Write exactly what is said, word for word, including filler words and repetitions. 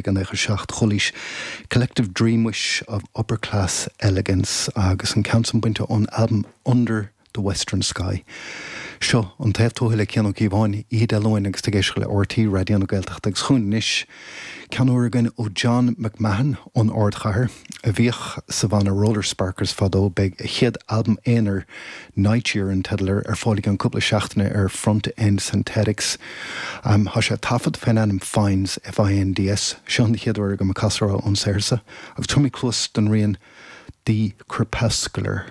déag nócha a seacht. Chualaís Collective Dream Wish of Upper Class Elegance agus an ceann san bainte ón albam Under the Western Sky. Seo an Taobh Tuaithe le Cian Ó Cíobháin, Oíche Dé Luain agus tú ag éisteacht le RTÉ Raidió na Gaeltachta agus chugainn anois ceann úr againn ó John McMahon ón Ardchathair a bhíodh sa bhanna Roller Sparkers fadó beidh a chéad albam aonair Night Year an teideal air ar fáil i gceann cúpla seachtaine ar Front End Synthetics. Um, Tá sé taifeadta faoin ainm Finds F-I-N-D-S seo an chéad uair agam ag casadh ón saothar agus tabharfaidh muid cluas don rian The Crepuscular.